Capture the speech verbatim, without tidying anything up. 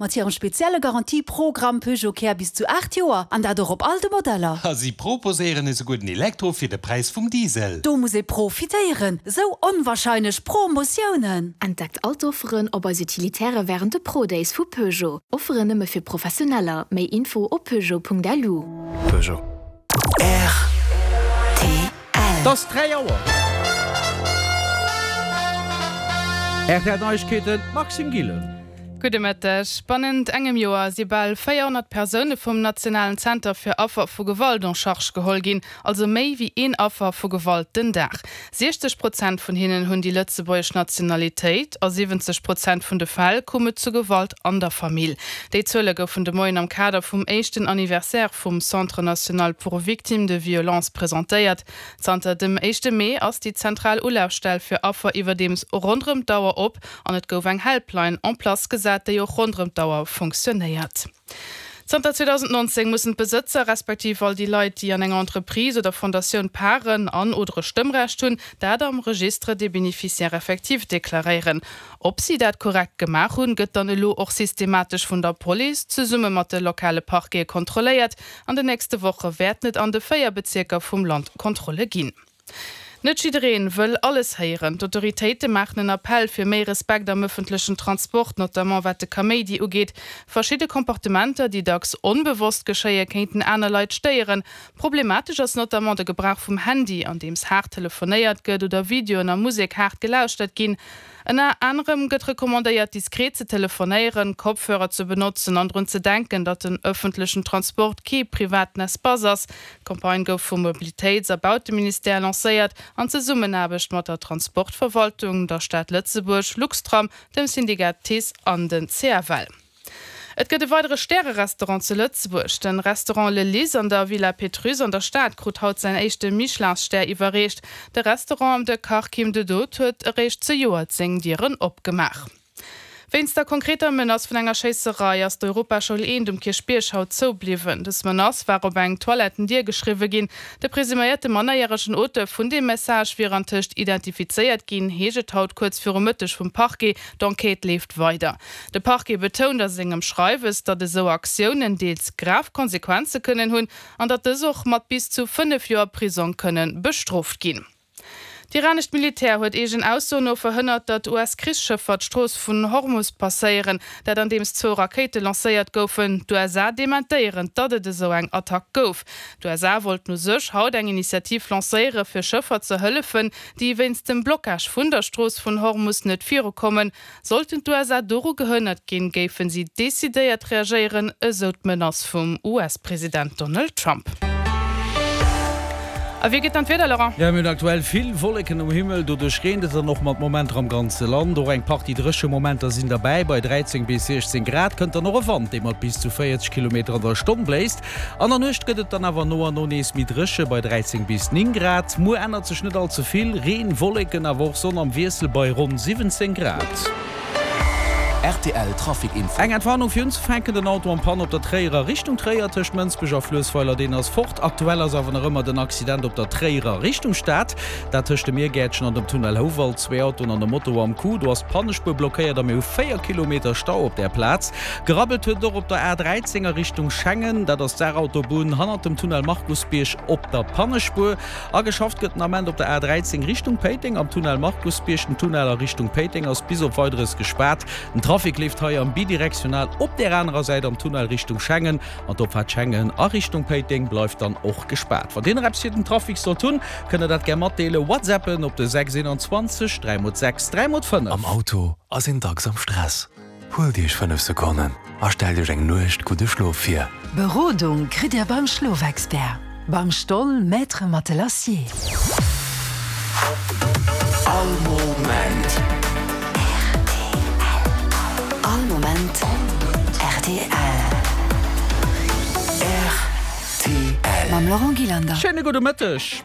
Mat hirem spezielle Garantieprogramm Peugeot Care bis zu aacht Joer, an dat och op all de Modeller. A si proposéieren esouguer den Elektro fir de Präis vum Diesel. Do muss ee profitéieren, sou onwahrscheinlech Promotiounen! Entdeckt all d'Offeren op eis Utilitaire wärend de Pro Days vu Peugeot. Offeren nëmme fir Professioneller. Méi Info op peugeot.lu. Peugeot. Rtl. Et ass dräi Auer. Rtl Neiegkeeten, Maxime Gillen. Gudde Mëtteg. Bannent engem Joer si bal véierhonnert Persoune vum nationalen Zenter fir Affer vu Gewalt en charge geholl ginn, also méi wéi een Affer vu Gewalt den Dag. siechzeg Prozent vun hinnen hunn déi lëtzebuergesch Nationalitéit. A siwwenzeg Prozent vun de Fäll koum et zu Gewalt an der Famill. Déi Zuele goufen de Moien am Kader vum éischten Anniversaire vum Centre national pour victimes de violences presentéiert. Zanter dem éischte Mee ass déi zentral Ulafstell fir Affer iwwerdeems ronderëm d'Auer op an et gouf eng Helpline en place gesat, déi och ronderëm d'Auer fonctionnéiert. Zanter zweedausendnonzéng mussen d'Besëtzer, respektiv all déi Leit, déi an enger Entreprise oder Fondatioun Paren an oder e Stëmmrecht hunn, dat am Registre des bénéficiaires effectifs deklaréieren. Ob si dat korrekt gemaach hunn, gëtt dann elo och systematesch vun der Police zesumme mat de lokale Parquete kontrolléiert. An den nächste Woche wäerten et an de véier Bezierker vum Land Kontrolle ginn. Net jiddereen wëll alles héieren. D'Autoritéite maachen en Appell fir méi Respekt am ëffentlechen Transport, notamment wat de Kaméidi ugeet. Verschidde Comportementer, déi dacks onbewosst geschéien, kéinten aner Leit stéieren. Problematesch ass notamment de Gebrauch vum Handy, andeems haart telefonéiert gëtt oder Videoen a Musek haart gelauschtert ginn. Ënner anerem gëtt recommandéiert, diskret ze telefonéieren, Kopfhörer ze benotzen an drun ze denken, datt den ëffentlechen Transport kee privaten Espace ass. D'Campagne gouf vum Mobilitéits a Bauteministère lancéiert, an Zesummenaarbecht mat der Transportverwaltung, der Stad Lëtzebuerg, Luxtram, dem Syndikat TICE an den C F L. Et gëtt e weidere Stäre-Restaurant zu Lëtzebuerg. De Restaurant Le Lys an der Villa Pétrusse an der Stad krut haut säin éischte Michelin-Stär iwwerreecht. De Restaurant am de Kach Kim de Dood huet eréischt zejoert seng Dieren opgemaach. Wéinst der konkreter Menace vun enger Schéisserei ass d'Europaschoul eent um Kierchbierg haut zou bliwwen. Dës Menace war op eng Toilettendier geschriwwe ginn. De presuméierte mannerjäregen Auteur vun deem Message wier antëscht identifizéiert ginn, heescht et haut kuerz viru Mëtteg vum Parquet. D'Enquête leeft weider. De Parquet betount a sengem Schreiwes, datt esou Aktiounen deels grav Konsequenze kënnen hunn an datt dës och mat bis zu fënnef Joer Prisong kënne bestrooft ginn. D'iranescht Militär huet eegen Aussoen no verhënnert, datt U S-Krichsschëffer d'Strooss vun Hormus passéieren, dat andeems zwou Rakéite lancéiert goufen. D'U S A dementéieren, datt et esou eng Attack gouf. D'U S A wollten u sech haut eng Initiativ lancéiere fir Schëffer ze hëllefen, déi wéinst dem Blockage vun der Strooss vun Hormus net virukommen. Sollten d'U S A doru gehënnert ginn, géife si decidéiert reagéieren, esou d'Menace vum U S-President Donald Trump. A wéi gëtt dann d'Wieder, Laurent? Jo, mir hunn aktuell vill Wolleken um Himmel, doduerch reent et dann och mat Momenter am ganze Land. Och eng Partie dréche Momenter sinn derbäi. Bei dräizéng bis siechzéng Grad kënnt dann och e Wand, dee mat bis zu véierzeg Kilometer an der Stonn bléist. An der Nuecht gëtt et dann awer no an no nees méi dréche bei dräizéng bis néng Grad. Muer ännert sech net all ze vill, Reen, Wolleken awer och Sonn am Wiessel bei ronn siwwenzéng Grad. Rtl Trafic Info. Eng Entwarnung fir unzefänken, den Auto en panne op der Tréierer Richtung Tréier tëscht Mënsbech a Fluessweiler, deen ass fort. Aktuell ass awer nach ëmmer den Accident op der Tréierer Richtung Stad, dat tëscht dem Miergäertchen an dem Tunnel Houwald. Zwee Autoen an e Moto am Coup, do ass d'Pannespuer blockéiert a mir hu véier Kilometer Stau op där Plaz. Gerabbelt huet et och op der A dräizéng a Richtung Schengen, dat ass d'Saarautobunn hannert dem Tunnel Markusbierg op der Pannespuer. A geschafft gëtt den Ament op der A dräizéng Richtung Péiteng am Tunnel Markusbierg. Den Tunnel a Richtung Péiteng ass bis op Weideres gespaart. Den Trafic leeft hei am bidirektional op där anerer Säit am Tunnel Richtung Schengen an d'Opfaart Schengen a Richtung Péiteng bleift dann och gespaart. Wann Dir nach eppes fir den Trafic sollt hunn, kënnt der dat gär matdeelen. Whatsappen op de sechs eenanzwanzeg dräi mol sechs dräi mol fënnef. Am Auto ass een dacks am Stress. Huelt Iech fënnef Sekonnen a stellt Iech eng Nuecht gudde Schlof vir. Berodung kritt Dir beim Schlofexpert, beim Stoll Maître Matelassier. All Moment. R T L. All Moment R T L. R T L. Mam Laurent Gillander. Schéine gudde Mëtteg.